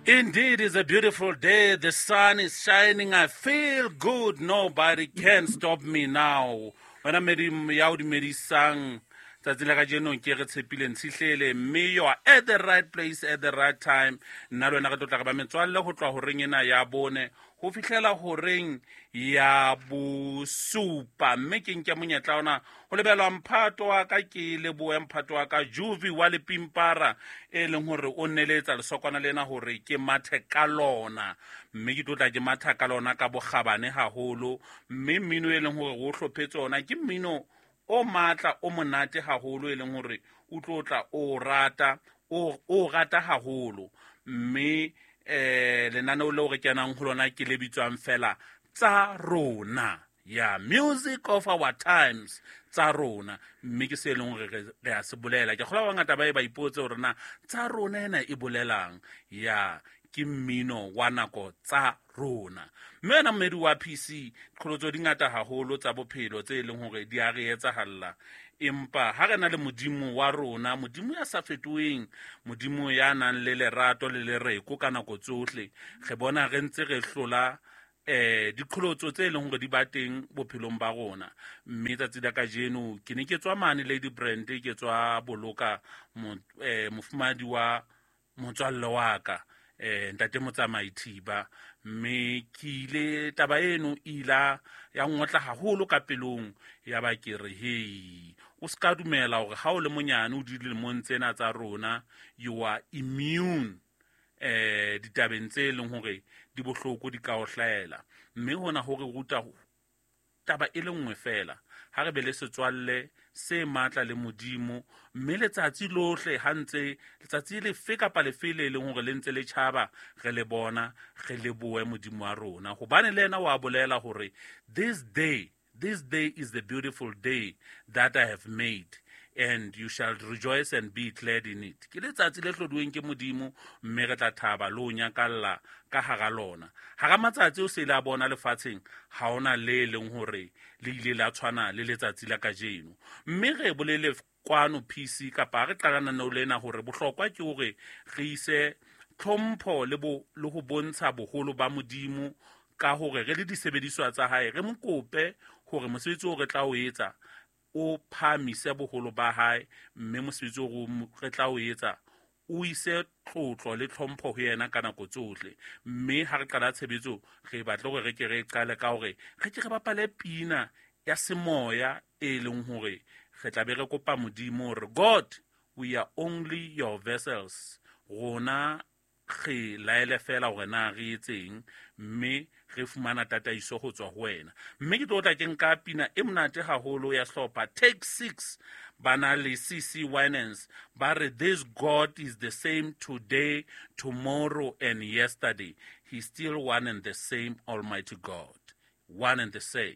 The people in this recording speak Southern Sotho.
Indeed, it's a beautiful day. The sun is shining. I feel good. Nobody can stop me now. Wena medi ya o dumedisang tsatsi la kajeno ke re tshepile ntshihlele mme you are at the right place at the right time. Nna le wena re tlo tla re ba metswalle ho tloha horeng ena ya bone ho fihlela horeng ya bosupa, mme ke nke monyetla ona ho lebelwa mphato wa ka, ke lebohe mphato wa ka Juvi wa Lepimpara, e leng hore o neletsa lesokwana lena hore ke mathe ka lona, mme ke tlo tla ke matha ka lona ka bokgabane haholo. Mme mmino e leng hore o hlophetse ona ke mmino o matla o monate haholo, e leng hore o tlo tla o rata, o rata haholo. Mme lenaneo leo re kenang ho lona ke le bitswang fela Tsa Rona, ya Music of Our Times, Tsa Rona. Mme ke se e leng hore re a se bolela. Ke kgolwa ba bangata ba e ba ipotse hore na Tsa Rona ena e bolelang. Ya ke mmino wa nako tsa rona. Mme wena mmedi wa PC, qholotso di ngata haholo tsa bophelo tse e leng hore di a re etsahalla, empa ha re na le Modimo wa rona, Modimo ya sa fetoheng, Modimo ya nang le lerato le lereko ka nako tsohle, re bona re ntse re hlola diqholotso tse leng hore di ba teng bophelong ba rona. Mme tsatsi la kajeno ke ne ke tswa mane Lady Brand, ke tswa boloka mofumahadi wa motswalle wa ka, ntate Motsamai Thiba. Mme ke ile taba eno e ila ya ngotla haholo ka pelong, ya ba ke re hei, o se ka dumela hore ha o le monyane o dilemong tsena tsa rona you are immune ditabeng tse leng hore di bohloko di ka o hlahela. Mme hona ho re ruta taba e le nngwe fela, ha re be le setswalle se matla le Modimo, mme letsatsi lohle ha ntse letsatsi lefe kapa lefe le leng hore le ntse le tjhaba, re le bona, re lebohe Modimo wa rona, hobane le yena wa bolela hore this day, this day is the beautiful day that I have made, and you shall rejoice and be glad in it. Ke letsatsi le hlodiweng ke Modimo, mme re tla thaba le ho nyakalla ka hara lona. Hara matsatsi o se le a bona lefatsheng, ha ona le leng hore le ile la tshwana le letsatsi la kajeno. Mme re bolele kwano PC kapa re qala lenaneo lena hore bohlokwa ke hore re ise tlhompho le le ho bontsha boholo ba Modimo ka hore re le disebediswa tsa hae, re mo kope hore mosebetsi o re tla o etsa o phahamise boholo ba hae, mme mosebetsi o re tla o etsa o ise tlotlo le tlhompho ho yena ka nako tsohle. Mme ha re qala tshebetso, re batle hore re ke re qale ka hore re ke re bapale pina ya semoya, e leng hore re tla be re kopa Modimo hore God, we are only your vessels, rona re laele fela hore na re etseng, mme re fumana tataiso ho tswa ho wena. Mme ke tlo tla ke nka pina e monate haholo ya sehlopha Take 6, ba na le CC Winans, ba re this God is the same today, tomorrow and yesterday. He's still one and the same Almighty God, one and the same.